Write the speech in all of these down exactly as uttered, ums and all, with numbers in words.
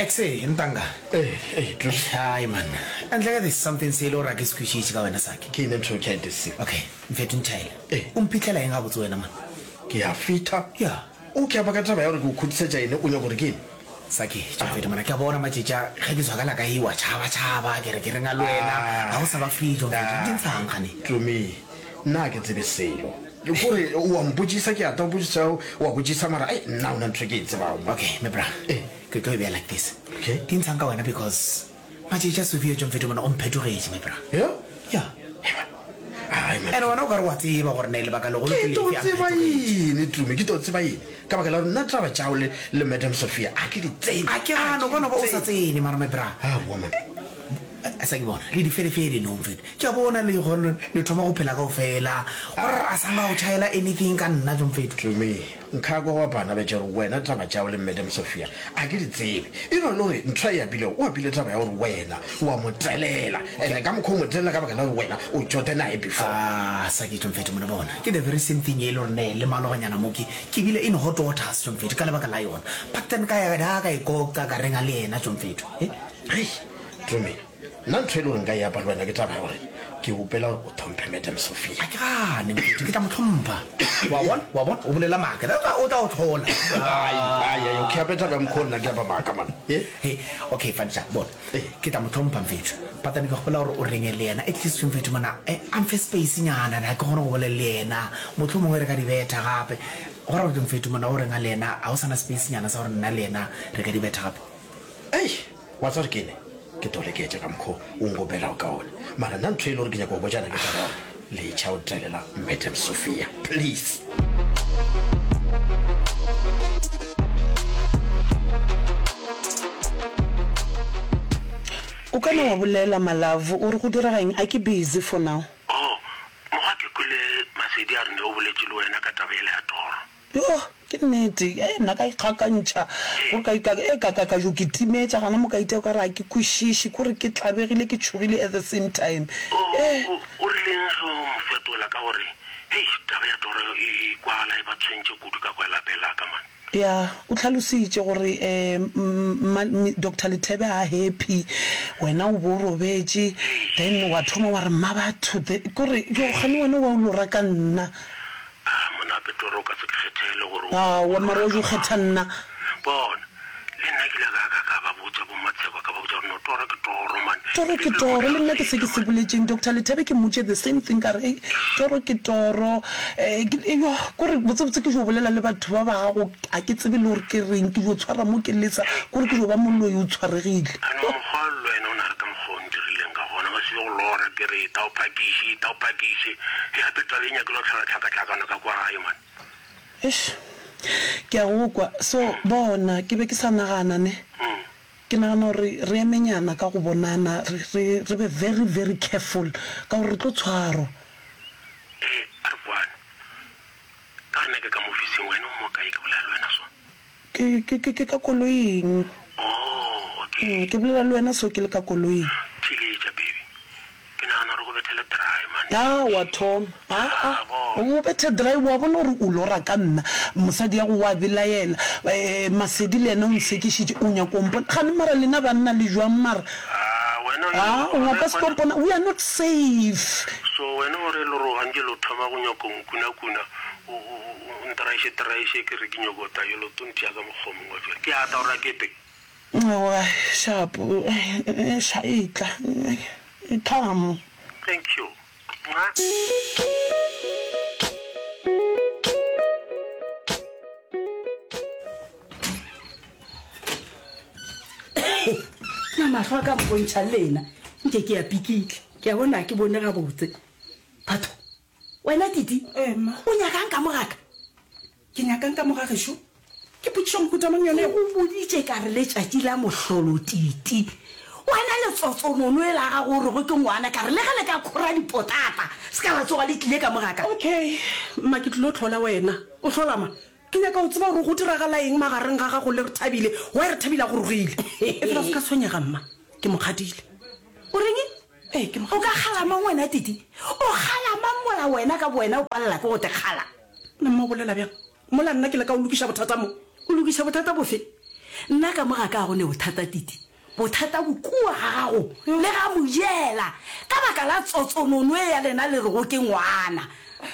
Exe, ntanga. Ee, ee, Tloši. Hai man. Ntle ka there's something se e le gore a ke se kwešiše ka wena Saki. Ke eng ntho e ke a Okay, mfetho ntšhaela. Ee. O mphitlhela eng gabotse wena man? Ke a fitha. Ya. O ke apa ka taba ya gore ke o khutisetša ene o nyaka gore ke eng? Saki, tšo mona ke a bona matšatši a ge ke tswa ka la ka e wa tšhaba tšhaba ke re ke reng a le wena ga o sa ba free tšo mfetho di ntshang gane. Tumi, nna ga ke tsebe selo. Kore o a mpotšisa ke a tla o botšisa o a botšisa mara ai nna ona ntho e ke e tsebago mo. Okay, my bra. Ee. Ke tlo e beya like this. Okay. Di ntshang ka wena because matšatši a Sophia tšo mfetho mona o mphetogetše my bra. Yeah? Yeah. Ai man. And wena o ka re wa tseba gore ne lebaka legolo Ke ke tlo lefe a tseba mphetogetše. eng Tumi, ke tlo tseba eng? Ka baka la gore nna taba tšao le le Madam Sophia a ke di tsebe. A ke gane o ka no ba o sa tsene mara my bra. Aowa man. A sa ke bona le diferefere no mfetho. Ke a bona le gone le thoma go phela kaofela. Gore a sa nga o tšhaela anything ka nna tšo mfetho. Tumi, nka kwa wa bana ba tša gore wena taba tšao le Madam Sophia a ke di tsebe. E no le gore ntho e apilego o apile taba ya gore wena wa mo telela. And ka mokgwa o mo telela ka baka la gore wena o tšote naye before. Ah, sa ke tšo mfetho mona bona. Ke the very same thing e le gore ne le maloganyana mo ke ke bile in hot waters tšo mfetho ka lebaka la yona. But then ka ya da ka ikoka ka renga le yena tšo mfetho. Eh? Hei, Tumi, nna ntho e le gore nka e apa le wena ke taba ya gore ke opela gore o tlhomphe Madam Sophia. A ke gane mfetho ke tla mo tlhompha. Wa bona? Wa bona? O bolela maaka. O tla o tlhola. Ai, ai, ai, okay, ape taba ya mokgwa o nna ke apa maaka man. Eh? Hey, okay, fane bona. Eh. Ke tla mo tlhompha mfetho. But then ke gopola gore o renge le yena. At least mfetho mona, eh, a mfe space nyana, na ke kgone go bolela le yena. Mohlomongwe re ka di betha gape. Gore gore mfetho mona o renga le yena, ha o sana space nyana sa gore nna le yena re ka di betha gape. Ei, wa tseba gore ke eng? Ke tlo leketša ka mokgwa o nkopelago ka ona. Mara nna ntho e le gore ke nyaka go botšana ke taba ya gore letšha o telela Madam Sophia, please. O ka no wa bolela Malove o re go direga eng a ke busy for now. Oh, mokgwa ke kwele Masedi a re ne o boletše le wena ka taba ele ya toro. Yo, ke nnete. Eh, nna ka ikgakantšha. Gore ka ka e ka ka ka jo ke timetša gana mo ka itea ka re a ke kwešiše, kore ke tlabegile ke tšhogile at the same time. O Eh. o o rileng ge o mo fetola ka gore hei taba ya toro e e kwala e ba tshwentše kudu ka kwa lapeng la ka man. Ya, o tlhalositše gore eh mma Doctor Lethebe ha happy, wena o bo robetše, then wa thoma wa re mma batho kore yo gane wena wa o lora ka nna. Ah, monape toro o ka se ke kgethele gore o Aowa mara o lora jo ka kgetha mang. nna. Bona, le nna ke ile ka ka ka ba botša bo Matsheko ka ba botša gore no toro ke toro man. Toro Ke ke le toro, gore le nna ke se ke se man. boletšeng Doctor Lethebe ke mmotše the same thing ka re ei toro ke toro. Eh ke yo kore botsebotse ke jo bolela le batho ba ba gago a ke tsebe le gore ke reng ke jo tshwara mo ke lesa kore ke jo ba moloi o tshwaregile. Ano mokgwa le wena o na re ka mokgwa o ntirileng ka gona ba se go lora ke re ta o phakiše ta o phakiše he gape taba e nyakile go tlhola tlhakatlhakano ka kwa gae man. Eish, ke a go kwa. So bona ke be ke sa nagana ne. Mm. Ke nagana gore re emenyana ka go bonana re re re be very very careful ka gore re tlo tshwarwa. Ee, a re kwane. Ka re nna ke ka mo ofising wena o mo kae ke bolela le wena so? Ke ke ke ke ka koloing. Oh, okay. Mm, ke bolela le wena so ke le ka koloing. Theletša baby. Ke nagana gore go bethele dry man. Ah, wa thoma. Ah, ah. Ah, bona. O bethe dry wa bona gore o lora ka nna. Mosadi ya go wa belaela. Eh Masedi le yena o nsekišitše o nyaka o mpona. Gane mara lena banna le jwang mara? Ah, wena o Ah, o gona ka se tlo kwana. mpona. We are not safe. So wena o re le gore gantše lo thoma go nyaka o nkunakuna o o o ntraiše traiše ke re ke nyako ta yo lo tontia ka mokgwa o mongwe fela. Ke a ta gore a kete. Aowa, sharp. Eh, sha etla. Come. Thank you. Mwah. Na mahlo a ka mpontšha lena nke ke ya pikitla ke a bona ke bone gabotse. Batho, wena Titi, Eh, mma. o nyakang ka mogaka? Ke nyakang ka moga gešo? Ke potšišo mohuta mang yone? O boditše ka re letšatši la mohlolo Titi. Wena letsotsonono e la gago o rego ke ngwana ka re le ge le ka khora dipotata se ka la tsoga le tlile ka mogaka. Okay, mma ke tlilo tlhola wena. O hlola ma? Ke nyaka go tseba gore go diragala eng magareng ga gago le Rethabile. Why Rethabile a go rogile? E fela se ka tshwenyega mma. Ke mo kgadile. O reng? Ee, ke mo O ka kgala mang wena Titi? O kgala mang mola wena ka bowena o palela ke go te kgala? Nna mma o bolela bjang? Mola nna ke le ka o lokiša bothata mo. O lokiša bothata bofe? Nna ka mo ga ka go ne bothata Titi. Bothata bo kua ga gago le ga Mojela ka baka la tsotsonono e ya lena le rego ke ngwana.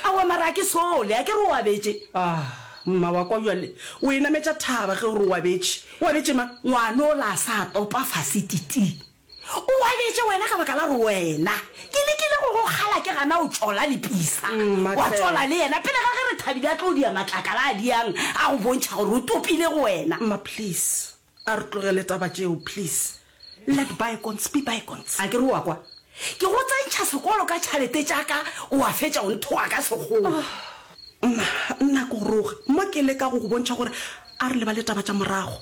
Aowa mara a ke sole, a ke re o abetše? Ah, mma wa kwa bjale o e nametša thaba ge o re o abetše. O abetše mang? Ngwana ola a sa topa fase Titi. O abetše wena ka baka la gore wena ke lekile go go kgala ke gana o tšola le Pisa. Mma Wa hle. tšola le yena pele ga ge Rethabile a tlo dia matlakala a diang a go bontšha gore o topile go wena. Mma please, a re tlogele taba tšeo please. Let bygones be bygones. A ke re o a kwa? Ke go tsentšha sekolo ka tšhalete tša ka o a fetša o nthoga ka sekgowa. Mma, nna ke go roge mo ke leka go go bontšha gore a re lebale taba tša morago.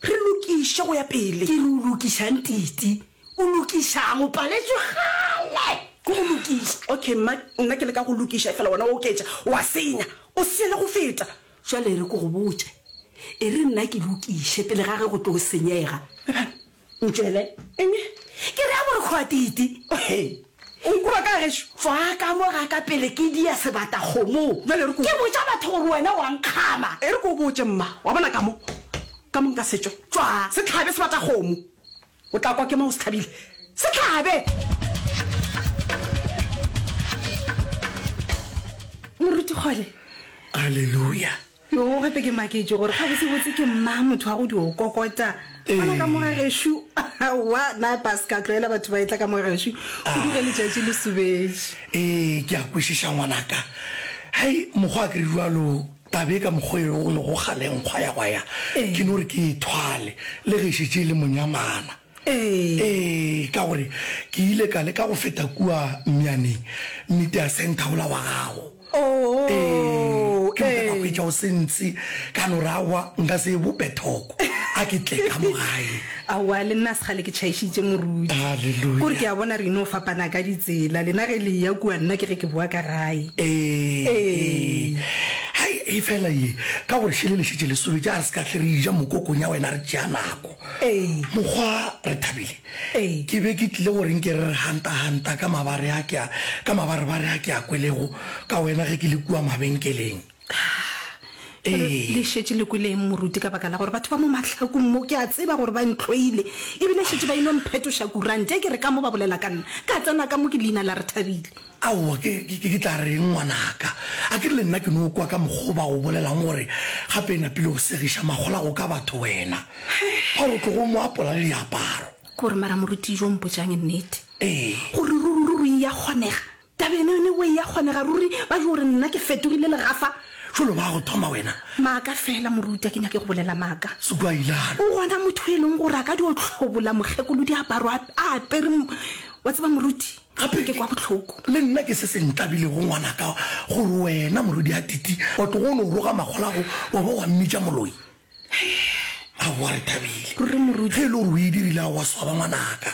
Re lokiše go ya pele. Ke re o lokišang Titi? O lokišang? O paletšwe kgale ke go lokiša. Okay mma, nna ke leka go lokiša efela wena o oketša, wa senya. O senya le go feta. Jwale e re ke go botše, e re nna ke lokiše pele ga ge go tlo senyega. Ntšwele. Eng? Ke re a borokgo a Titi. Hei, o nkura ka gešo? Tšwa ka mo ga ka pele ke dia sebatakgomo. Bjale e re ke o. Ke botša batho gore wena wa nkgama. E re ke o botše mma, wa bona ka mo, ka mo nka se tšwe. Tšwa. Se hlabe sebatakgomo. O tla kwa ke mo o se hlabile. Se hlabe! Moruti Kgole. Haleluya. Yo, gape ke maketše gore gabotsebotse ke mang motho wa go dio kokota gona ka mo ga gešo. Aowa, na pa se ka tlwaela batho ba etla ka mo ga gešo kudu ge letšatši le sobetše. Ee, ke a kwešiša ngwanaka. Hei, mokgwa a ke re bjalo, taba e ka mokgwa e go lego kgale nkgwa ya gwa ya, ke no re ke e thwale le ge e šetše e le monyamana. Ee. Ee, ka gore ke ile ka leka go feta kua Mmianeng, media centre wola wa gago. Oh, Ee, ke moka ka ee. hwetša o se ntse, ka no re aowa nka se e bope thoko, a ke tle ka mo gae. Aowa, le nna segale ke tšhaišitše moruti. Hallelujah. Kore ke a bona re ino fapana ka ditsela, lena ge le eya kua nna ke ge ke boa ka gae. Ee, Ee. Hai, e fela ye, ka gore šele le šetše le sobetše, a re se ka hle re eja mokokong ya wena re tšea nako. Ee. Mokgwa re thabile. Ee. Ke be ke tlile gore nke re re hanta-hanta ka mabare a ke a, ka mabarebare a ke a kwelego ka wena ge ke le kua mabenkeleng. Jwale Ee. le šetše le kwele eng moruti ka baka la gore batho ba mo mahlakong mo ke a tseba gore ba ntlhoile ebile šetše ba ino mphetoša kurante ke re ka mo ba bolela ka nna ka tsena ka mo ke leina la Rethabile. Aowa, ke, ke, ke tla reng ngwanaka? A ke re le nna ke no kwa ka mokgwa o ba go bolelang gore gape e napile go segiša makgolago ka batho wena. Ba re o tlogo mo apola le diaparo. Ke gore mara moruti jo mpotšang nnete. Ee. Gore ruri ruri e ya kgonega. Taba ene yone o e ya kgonega ruri ba jo gore nna ke fetogile legafa. Jwalo ba go thoma wena. Maaka fela moruti, a ke nyake go bolela maaka. Sekwa ilalo. O gona motho e leng gore a ka dio hlobola mokgekolo diaparo a, a apere m-, wa tseba moruti, Gape ke kwa bohloko. Le nna ke se se ntlabilego ngwanaka gore wena morwedi a Titi wa tlogo o no roga makgolago wa ba wa mmitša moloi. Aowa re thabile. Ruri moruti. Ge e le gore o e dirile a wa swaba ngwanaka.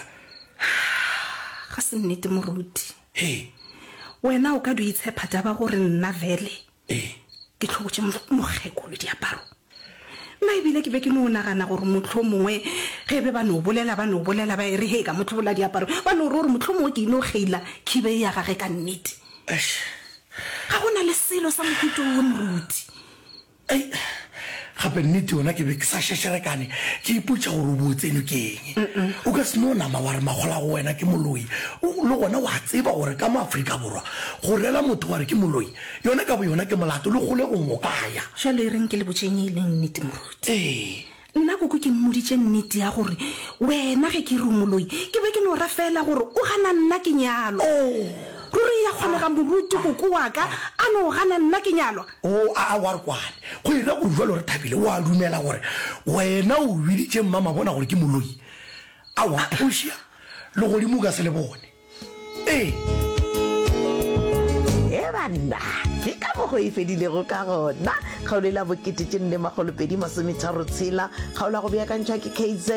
Ga se nnete moruti. He. Wena o ka dio itshepa taba gore nna vele. Ee. Ke hlobotše mokgekolo diaparo. Nna ebile ke be ke no nagana gore mohlomongwe ge be ba no bolela, ba no bolela, ba e re he ka mo hlobola diaparo, ba no re gore mohlomongwe ke ino kgeila khibe e ya gage ka nnete. Eish. Ga go na le selo sa mohuta wo moruti. Ei, gape nnete yona ke be ke sa šešerekane, ke ipotša gore o bo tseno ke eng. O ka se no nama wa re makgola go wena ke moloi. O, le gona wa tseba gore ka mo Afrika Borwa go rela motho wa re ke moloi, yona ka bo yona ke molato le kgolegong o ka ya. Jwale e reng ke le botšeng e leng nnete moruti. Ee. Nna koko ke mmoditše nnete ya gore wena ge ke re o moloi, ke be ke no ra fela gore o gana nna ke nyalwa. Oh. Ruri ya kgonega moruti koko wa ka a no gana nna ke nyalwa. O, a, a, wa re kwane. Go ira gore jwale re thabile, o a dumela gore wena o biditše mma mabona gore ke moloi. Aowa, o šia le godimo o ka se le bone. Ee. E banna, ke ka mokgwa e fedilego ka gona. Kgaolo e la bokete tše nne makgolo pedi masometharo tshela. Kgaolo ya go beakantšhwa ke K Z,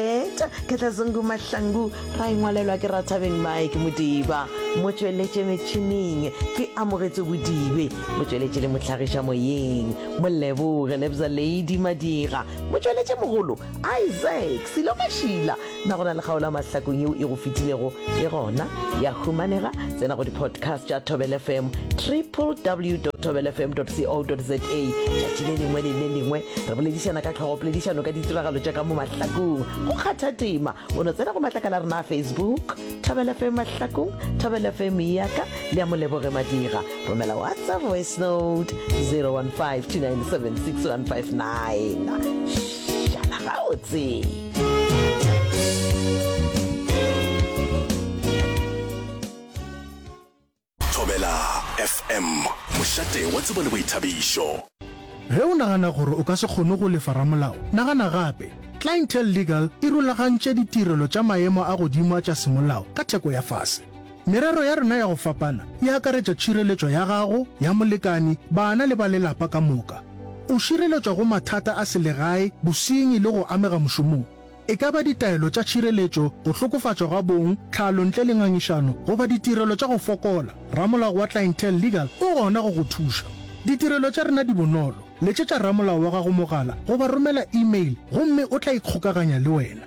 Ketlazungu Mahlangu, ra e ngwalelwa ke Rathabeng Mike Modiba. Motšweletše metšhineng ke Amogetšwe Bodibe, motšweletše le mohlagiša moyeng Moleboge Lebza Lady Madira, motšweletše mogolo Isaac Silo Mašila. Na go na le kgaolo ya mahlakong yeo e go fetilego? E gona, ya humanega. Tsena go di-podcast tša Thobela F M, www dot thobela f m dot co dot za. Tšatši le lengwe le le lengwe re boledišana ka tlhogopoledišano ka ditiragalo tša ka mo mahlakong. Go kgatha tema, o no tsena go matlakala a rena a Facebook, Thobela F M Mahlakong, Thobela F M ya ka le ya Moleboge Madira. Romela WhatsApp voice note zero one five two nine seven six one five nine. Šala gabotse. Thobela F M, mošate wa tsebo le boithabišo. Ge o nagana gore o ka se kgone go lefa ramolao, nagana gape. Clientele Legal e rulagantše ditirelo tša maemo a godimo a tša semolao ka theko ya fase. Merero ya rena ya go fapana e akaretša tšhireletšo ya gago, ya molekani, bana le ba lelapa ka moka. O šireletšwa go mathata a selegae, bosenyi le go amega mošomong. E ka ba ditaelo tša tšhireletšo, go hlokofatšwa ga bong, tlhalo ntle le ngangišano, goba ditirelo tša go fokola, ramolao wa Clientele Legal o gona go go thuša. Ditirelo tša rena di bonolo. Letšetša ramolao wa gago mogala goba romela email gomme o tla ikgokaganya le wena.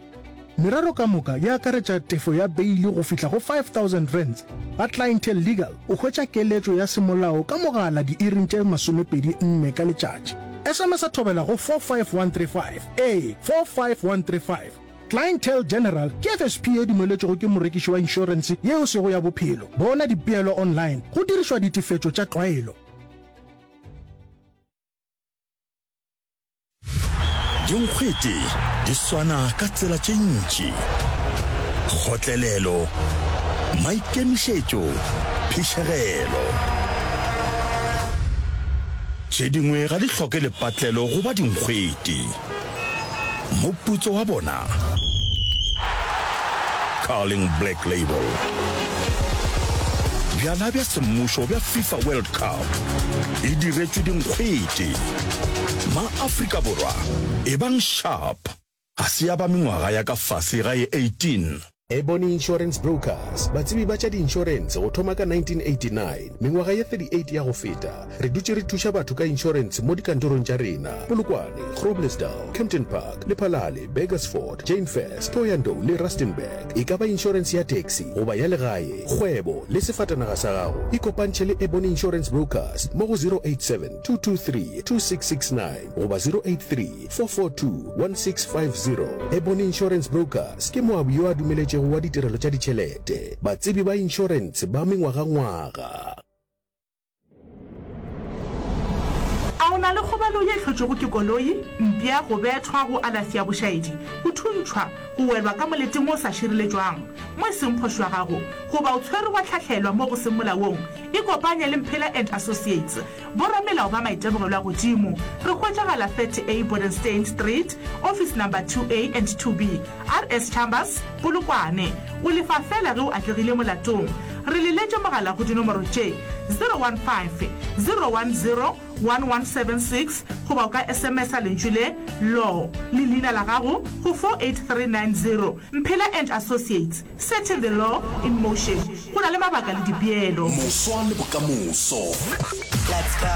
Merero ka moka e akaretša tefo ya beili go fihla go five thousand rands. Ga Clientele Legal o hwetša keletšo ya semolao ka mogala diiring tše masomepedi nne ka letšatši. S M S a thobela go four five one three five, ee, four five one three five. Clientele General ke F S P ye dumeletšwego ke morekiši wa inšorense yeo sego ya bophelo. Bona dipeelo online go dirišwa ditefetšo tša tlwaelo. Dinkgwete di swana ka tsela tše ntši. Kgotlelelo, maikemišetšo, phišegelo. Tše dingwe ga di hloke lepatlelo goba dinkgwete. Moputso wa bona? Carling Black Label. Bjala bja semmušo bja FIFA World Cup e diretšwe dinkgwete. Ma-Afrika Borwa, ebang sharp. Ga se ya ba mengwaga ya ka fase ga ye eighteen. Ebony Insurance Brokers, batsebi ba tša diinšorense go thoma ka nineteen eighty-nine, mengwaga ye thirty-eight ya go feta, re dutše re thuša batho ka inšorense mo dikantorong tša rena, Polokwane, Groblersdal, Kempton Park, Lephalale, Burgersfort, Jane Furse, Thohoyandou le Rustenburg. E ka ba inšorense ya taxi goba ya legae, kgwebo le sefatanaga sa gago, ikopantšhe le Ebony Insurance Brokers mo go zero eight seven, two two three, two six six nine goba zero eight three, four four two, one six five zero. Ebony Insurance Brokers ke moabi yo a dumeletšego wa ditirelo tša ditšhelete, batsebi ba inšorense ba mengwagangwaga. A o na le kgobalo ye e hlotšwego ke koloi, mpša, go bethwa, go alafi ya bošaedi, go thuntšhwa, go welwa ka moleteng o sa šireletšwang, mo e seng phošo ya gago, goba o tshwerwe wa hlahlelwa mo go seng molaong? Ikopanye le Mphela and Associates, boramelao ba maitemogelo a godimo. Re hwetšagala thirty A Bodenstein Street, Office Number two A and two B, R S Chambers, Polokwane. O lefa feela ge o atlegile molatong. Re leletše mogala go dinomoro tše, zero one five, zero one zero, one one seven six goba o ka S M S-a lentšu le, Law, le leina la gago go four eight three nine zero. Mphela and Associates, setting the law in motion. Go na le mabaka le dipeelo. Moswa le bokamoso. Let's go.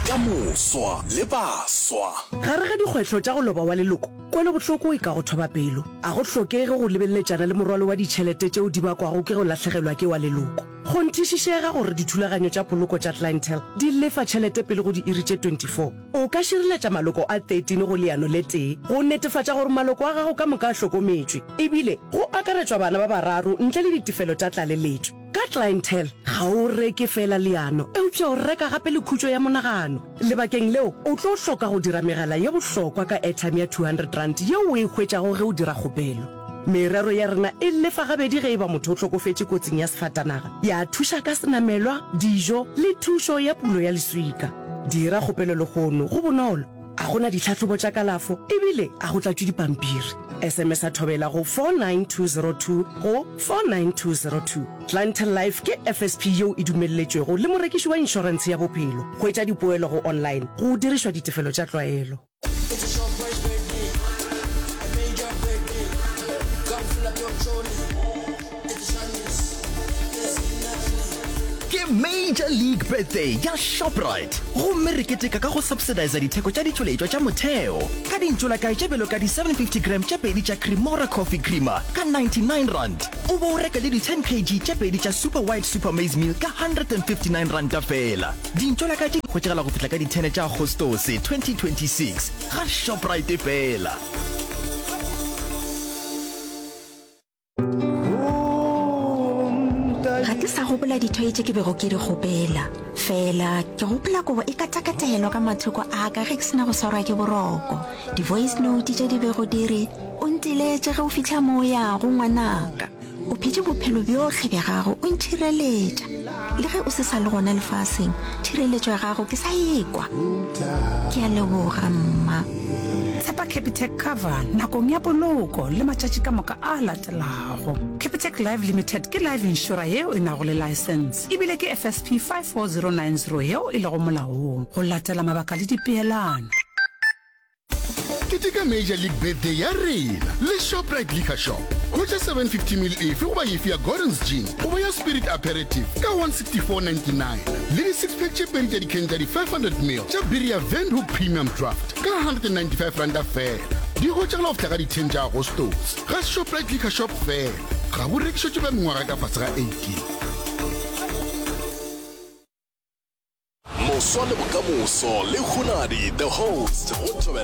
Ka moswa le baswa. Gare ga dikgwetlho tša go loba wa leloko, kwelobohloko e ka go thoba pelo. A go hlokege go lebeleletšana le morwalo wa ditšhelete tšeo di bakwago ke go lahlegelwa ke wa leloko. Kgonthišišega gore dithulaganyo tša poloko tša Clientele di lefa tšhelete pele go diiri tše twenty-four. O ka šireletša maloko a thirteen go leano le tee go netefatša gore maloko a gago ka moka a hlokometšwe, ebile go akaretšwa bana ba bararo ntle le ditefelo tša tlaleletšo. Ka Clientele, ga o reke feela leano, eupša o reka gape le khutšo ya monagano. Lebakeng leo, o tlo hloka go dira megala ye bohlokwa ka airtime ya two hundred rand yeo o e hwetšago ge o dira kgopelo. Merero ya rena e lefa gabedi ge e ba motho o hlokofetše kotsing ya sefatanaga, ya thuša ka senamelwa, dijo le thušo ya pulo ya leswika. Dira kgopelo lehono, go bonolo, a go na ditlhahlobo tša kalafo ebile a go tlatšwe dipampiri. S M S a thobela go four nine two zero two go four nine two zero two. Clientele Life ke F S P yeo e dumelletšwego le morekiši wa inšorentshe ya bophelo. Hwetša dipoelo go online go dirišwa ditefelo tša tlwaelo. Major League Birthday ya Shoprite gomme re keteka ka go subsidisa ditheko tša ditšweletšwa tša motheo ka dintšolakae tše bjalo ka di seven fifty gram tše pedi tša Cremora Coffee Creamer ka ninety nine rand o bo o reka le di ten kg tše pedi tša Super White Super Maize Meal ka hundred and fifty nine ranta feela. Dintšolakae tše di hwetšagala go fihla ka di ten tša Agostose twenty twenty six ga Shoprite feela. Ga ke sa gopola dithoye tše ke bego ke di kgopela. Fela ke gopola kobo e katakatelwa ka mathoko a ka ge ke se na go swarwa ke boroko. Di-voice note tše di bego di re, O nteletše ge o fihla mo o yago, ngwanaka. O phetše bophelo bjohle bja gago o ntšhireletša. Le ge o se sa le gona lefaseng, tšhireletšo ya gago ke sa e kwa. Ke a leboga, mma. Tshepa Capitec Cover nakong ya poloko le matšatši ka moka a latelago. Capitec Life Limited ke life insurer yeo e nago le laesense ebile ke F S P five four zero nine zero yeo e lego molaong go latela mabaka le dipeelano. Keteka Major League Birthday ya rena le Shoprite Liquor Shop. Hwetša seven fifty ml efe goba efe ya Gordon's Gin goba ya Spirit Aperitif ka one sixty four ninety nine le di six pack tše pedi tša dikhene tša di five hundred ml tša biri ya Windhoek Premium Draft ka hundred and ninety five ranta feela. Di hwetšagala go fihla ka di ten tša Agostose ga Shoprite Liquor Shop feela. Ga bo rekišetšwe ba mengwaga ka fase ga eighteen. Moswa le bokamoso le Hunadi the host go Thobela.